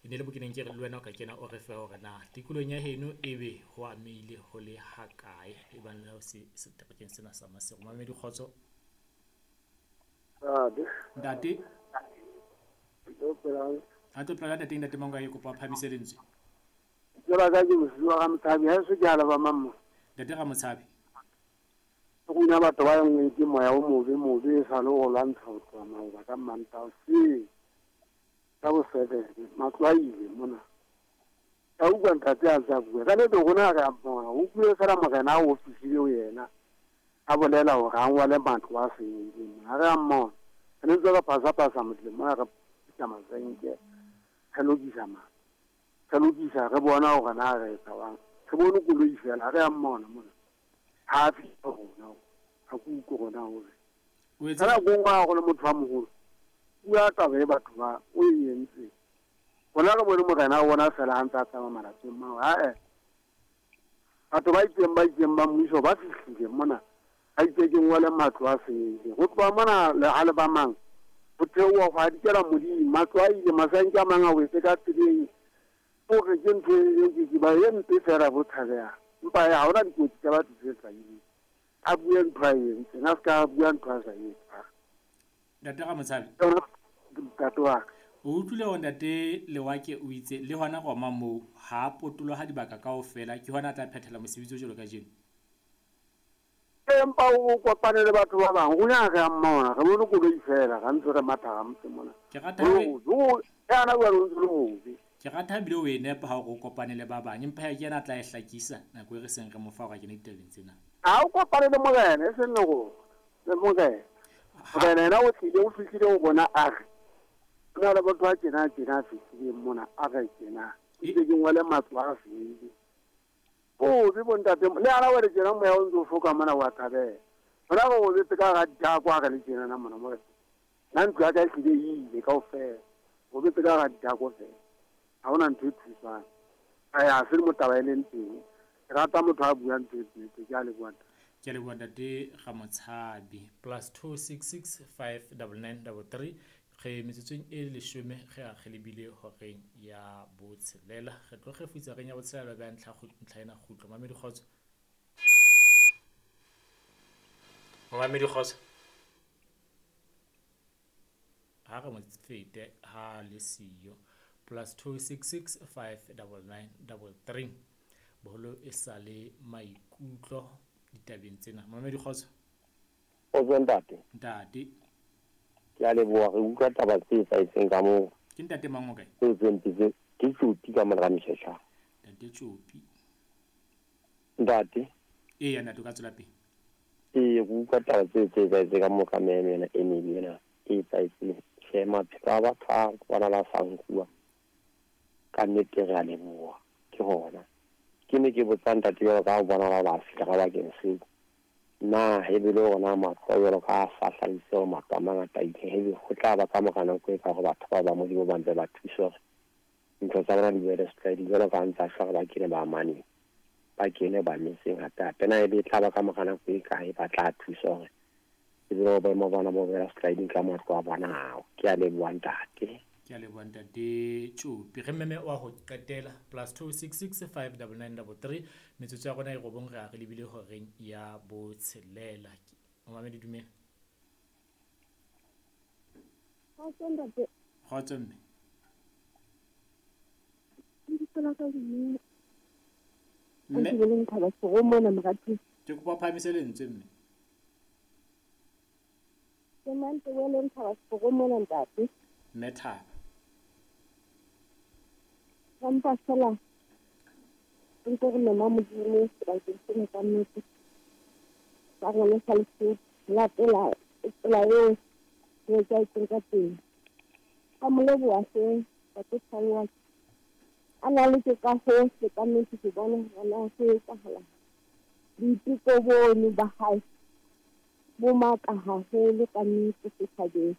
E ne le mo ke neng ke re le wena o ka kena o re fe hore na tikolohong ya heno ebe ho amehile ho le hakae e bang le ho se seterekeng sena sa Maseru. Mamedi kgotso. Ntate. Ha tlo phela ntate ntate Mangoa ke kopa phamise lentswe. Tseba ka ke mosiwa ga Motshabi, ha eso ke a leba mammo. Ntate ga Motshabi. Rona batho ba engwe ke moya o mobe mobe e sa le go lwantsha go tloha maoba ka Mantaha hoseng ka bo 7 matlo a ile mona. Ka utlwa ntate a ntse a bua ka nete rona re a mmona o utlwile fela morena a o fihlile ho yena a bolela hore a ngwale matlo a senyehileng mona. Ha re a mmona re ne ntse re phasa-phasa motleng mona re phutha masenke re lokisa matlo re lokisa re bona hore na re etsa jwang re bone koloi fela ha re a mmona mona. Ha a fihle ho rona, ha ke utlwe rona hore. O etsa Ka nako e nngwe ha go le motho wa moholo, bua taba e batho ba o e entseng. Rona re bone morena wa bona fela ha ntse a tsamaya malapeng mao. Ha-e, batho ba itseng ba itseng ba mmuso ba fihlile mona, ba itse ke ngole matlo a senyehileng. Ho tloha mona le ha le ba mang, ho theoha ho hadikela modimo, matlo a ile, masanke a mang a wetse ka tseleng. O re ke ntho e ke ke ba e mpe fela bo tshabehang. Empa ha hona dikotsi tsa batho tse hlahileng. A bue ntho a e entseng, a se ka bua ntho a sa e etsang. Ntate Ramotshabi. Ntate wa ka. O utlwile hore Ntate Lewake o itse le hona Roma moo ha a potoloha dibaka kaofela ke hona a tla phethela mosebetsi o jwalo kajeno. Empa o kopane le batho ba bang, ruri ha re a mmona, re bone koloi feela, ra ntse re matha ga motse mona. Ke rata ha o yana jwale o ntse le hobe. Ke rata ha bile o e nepa ha o re o kopane le ba bang, empa ke yena a tla e hlakisa nako e re seng re mo fa hore a kene ditabeng tsena. Ha o kopane le morena, e seng le rona, le morena. Morena yena o tlile, o fihlile ho rona a re, ho na le motho a tjena tjena a fihlileng mona, a re tjena, ke itse ke ngole matlo a senyehileng. Bobe bo ntate, le ana wele tjena moya o ntse o foka mona wa thabela. Rona re robetse ka hara dithako ha re le tjena na mona mo re. Nna ntlo ya ka e hlile e ile kaofela. Robetse ka hara dithako fela. Ha hona ntho e thusang. Ae ha se mo taba e leng teng. Ke rata motho a buang ntho e nnete. Ke a leboha ntate. Ke a leboha ntate Ramotshabi. +266 599 33 Re metsotsong e leshome re a re lebile horeng ya botshelela. Re tlo kgefutsa reng ya botshelela ba ntlha ntlha ena kgutlo. Mamedi kgotso. Mamedi kgotso. Ha re mo fete ha le siyo. +266 599 33. Boholo e sa le maikutlo ditabeng tsena. Mamedi kgotso. Kgotso ntate. Ntate. Ke a leboha re utlwa taba tse etsahetseng ka moo. Ke ntate mang o kae? Tseo tse mpe tse ke Tjopi ka mona Ramshesha. Ntate Tjopi. Ntate. Eya ntate o ka tswela pele. Ee, re utlwa taba tseo tse etsahetseng ka moo ka meme ena e mebe ena e etsahetseng. Tjhe, maphelo a batho a bona la sa nkuwa. Ka nnete re a leboha. Ke hona. Ke ne ke botsa ntate jwalo ka ha o bona ba fihla ka bakeng seo. Na hebe le ona matlo a jwalo ka a sa hlahise hore matlo a mangata a ile, hebe ho tla ba ka mora nako e kae hore batho bao ba Modimo ba mpe ba thuswe hore ntho tsa bona di boele setlwaeding jwalo ka ha ntse a shwa hore ba kene ba amaneng, ba kene ba metseng hape hape? Na ebe e tla ba ka mora nako e kae ba tla thuswa hore ebe hore boemo ba bona bo boela setlwaeding ka matlo a bona ao? Ke a leboha ntate. Ke a leboha ntate Tšopi. Re meme wa ho qetela +266 599 33 metsotso ya rona e robong re a re lebile horeng ya botshelela. Momamedi dumela. Kgotso ntate. Kgotso mme. Lebitso la ka ke mme. Mme. Thaba Sego mona Moratisi. Ke kopa o phahamise lentswe mme. Ke Mantebeleng Thaba Sego mona ntate. Mme Thaba. Re mpa fela re ntse re mema Modimo sebakeng sena ka nnete sa rona sa Lesotho. Latela tsela eo re etsahetseng ka teng. Ka mo leboha hle Ntate Tshangwa. A na le ke ka hohle ka nnete ke bona hore na ho etsahalang. Boiteko bono ba hae bo matla haholo ka nnete setjhabeng.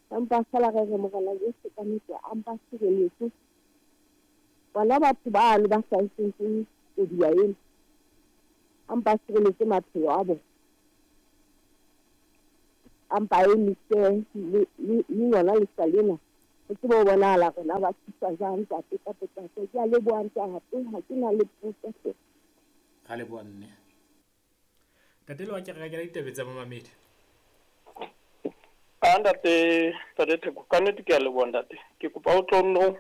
Empa feela re re Morena Jesu ka nnete a mpa sireletse bona batho bano ba hlahetsweng ke koduwa ena, a mpa sireletse maphelo a bona, a mpa emise le yona lehlwa lena ho tsebe ho bonahala rona ba thuswa jwang ntate ka potlako? Ke a leboha ntate, ha ke na le potso hle. Ra leboha mme. Ntate Lewake, re ka kena ditabeng tsa momamedi. A ntate, ntate Theko, ka nnete ke a leboha ntate. Ke kopa o tlo nno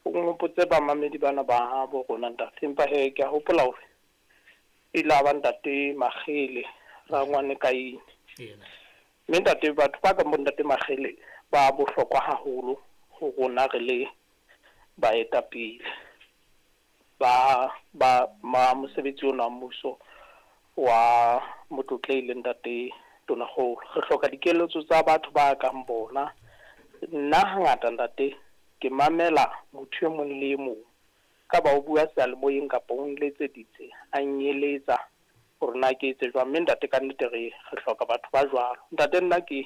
o nhopotse bamamedi bana ba bo rona ntate. Empa he ke a hopola hore e la ba ntate Makgele rangwane Kaine. Mme ntate, batho ba kang bo ntate Makgele ba bohlokwa haholo ho rona re le baetapele ba ba ma mosebetsi ona wa mmuso wa motlotlehi le ntate Tonakgolo. Re hloka dikeletso tsa batho ba kang bona. Nna hangata ntate ke mamela motho e mong le e mong, ka ba o bua seyalemoyeng kapa o nletseditse a nyeletsa hore na ke etse jwang. Mme ntate ka nnete re hloka batho ba jwalo. Ntate nna ke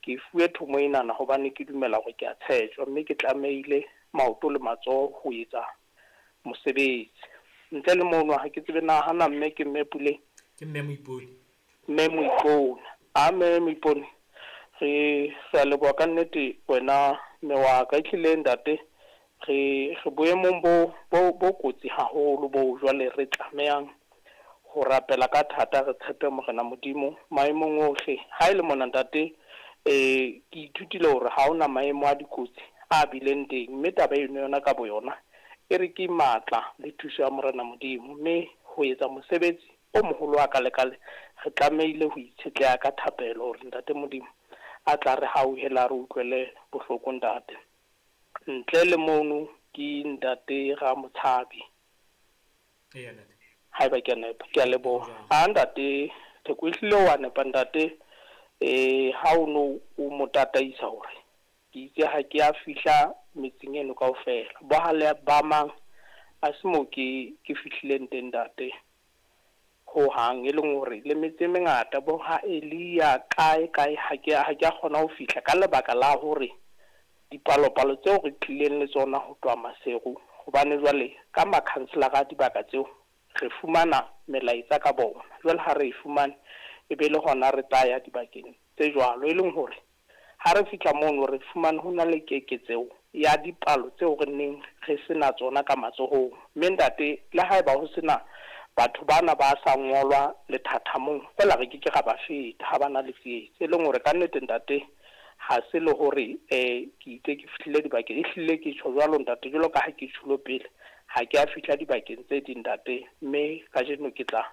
ke fuwe thomo enana hobane ke dumela hore ke a tshetjwa, mme ke tlamehile maoto le matsoho ho etsa mosebetsi. Ntle le mono ha ke tsebe na hana mme ke mme Puleng. Ke mme Moipone. Mme Moipone. A mme Moipone, re re a leboha ka nnete wena mme wa ka. Ehlile ntate re re boemong bo bo bo kotsi haholo bo jwale re tlamehang ho rapela ka thata, re tshepe Morena Modimo maemong ohle. Ha e le mona ntate, ke ithutile hore ha hona maemo a dikotsi a bileng teng, mme taba eno yona ka boyona e re ke matla le thuso ya Morena Modimo. Mme ho etsa mosebetsi o moholo wa kale-kale, re tlamehile ho itshetleha ka thapelo hore ntate Modimo a tla re hauhela, a re utlwele bohloko ntate. Ntle le mono ke ntate Ramotshabi. Eya ntate. Haeba ke a nepa, ke a leboha. A ntate Theko, ehlile wa nepa ntate. Ha o no o mo tataisa hore ke itse ha ke a fihla metseng eno kaofela. Bohale ba mang a se moo ke ke fihlileng teng ntate ho hang, e leng hore le metse e mengata bo ha Elia kae kae ha ke ha ke a kgona ho fihla ka lebaka la hore dipalopalo tseo re tlileng le tsona ho tloha Maseru, hobane jwale ka makhanselara a dibaka tseo re fumana melaetsa ka bona. Jwale ha re e fumane, e be le hona re tla ya dibakeng tse jwalo, e leng hore ha re fihla mono re fumane ho na le keketseho ya dipalo tseo re neng re sena tsona ka matsohong. Mme ntate, le haeba ho sena batho bana ba sa ngolwa lethathamong, feela re ke ke ra ba feta ha ba na le tsietsi. E leng hore ka nnete ntate, ha se le hore ke itse ke fihlile dibakeng, ehlile ke tjho jwalo ntate, jwalo ka ha ke tjhulo pele, ha ke a fihla dibakeng tse ding ntate, mme kajeno ke tla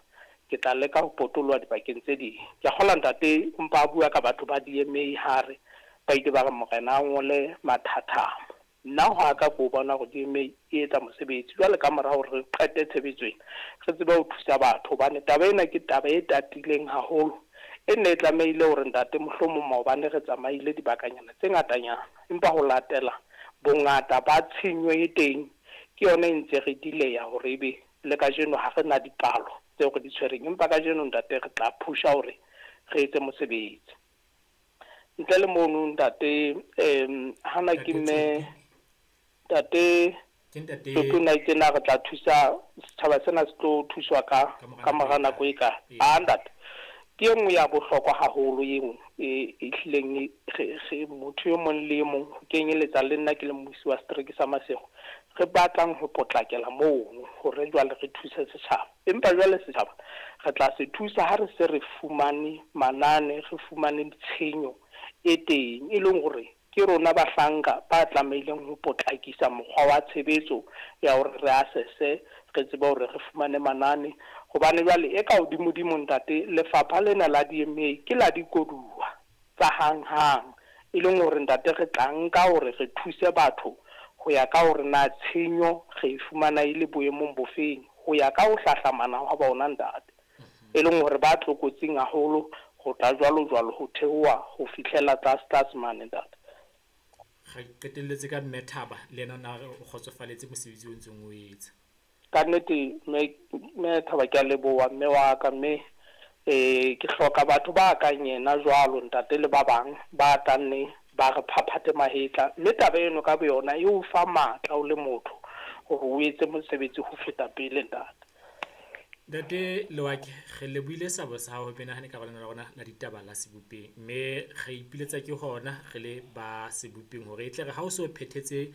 ke tla leka ho potoloha dibakeng tse ding. Ke a kgolwa ntate o mpa a bua ka batho ba DMA ha re ba ile ba re morena a ngole mathathamo. Nna ho a ka ko bona hore DMA e etsa mosebetsi. Jwale ka mora hore re qete tshebetso ena, re tsebe ho thusa batho, hobane taba ena ke taba e tatileng haholo. E nne e tlamehile hore ntate mohlomong maobane re tsamaile dibakanyana tse ngatanyana, empa ho latela bongata ba tshenyo e teng, ke yona e ntse re dileya hore ebe le kajeno ha re na dipalo tseo re di tshwereng. Empa kajeno ntate re tla phusha hore re etse mosebetsi. Ntle le mono ntate, hana ke Ntate mme Tshopi. Ntate Ke ntate Tshopi o na itse na re tla thusa setjhaba sena se tlo thuswa ka ka mora ka nako e mora nako kae? e kae. Ee. A ntate, ke e nngwe ya bohlokwa haholo eo e ehlileng e re re motho e mong le e mong, ho kenyeletsa le nna ke le mmusi wa setereke sa Maseru, re batlang ho potlakela mono hore jwale re thuse setjhaba. Empa jwale setjhaba re tla se thusa ha re se re fumane manane, re fumane tshenyo e teng, e leng hore ke rona bahlanka ba tlamehileng ho potlakisa mokgwa wa tshebetso ya hore re assesse, re tsebe hore re fumane manane. Hobane jwale e ka hodimodimo ntate, lefapha lena la DMA ke la dikoduwa tsa hanghang, e leng hore ntate re tla nka hore re thuse batho ho ya ka hore na tshenyo re e fumana e le boemong bofeng, ho ya ka ho hlahlamana hwa bona ntate. E leng hore ba tlokotsing haholo ho tla jwalo jwalo ho theoha ho fihlela tlase tlase mane ntate. Re qetelletse ka mme Thaba, le yena o na re o kgotsofaletse mosebetsi o ntseng o etsa. Ka nnete mme mme Thaba ke a leboha mme wa ka, mme ke hloka batho ba kang yena jwalo ntate le ba bang ba tla nne ba re phaphathe mahetla. Mme taba eno ka boyona e o fa matla o le motho hore o etse mosebetsi ho feta pele ntate. Ntate Lewake, re lebohile seabo sa hao ho menahane ka lena la rona la ditaba la Sebopeng, mme re ipiletsa ke hona re le ba Sebopeng hore e tle re ha o so phethetse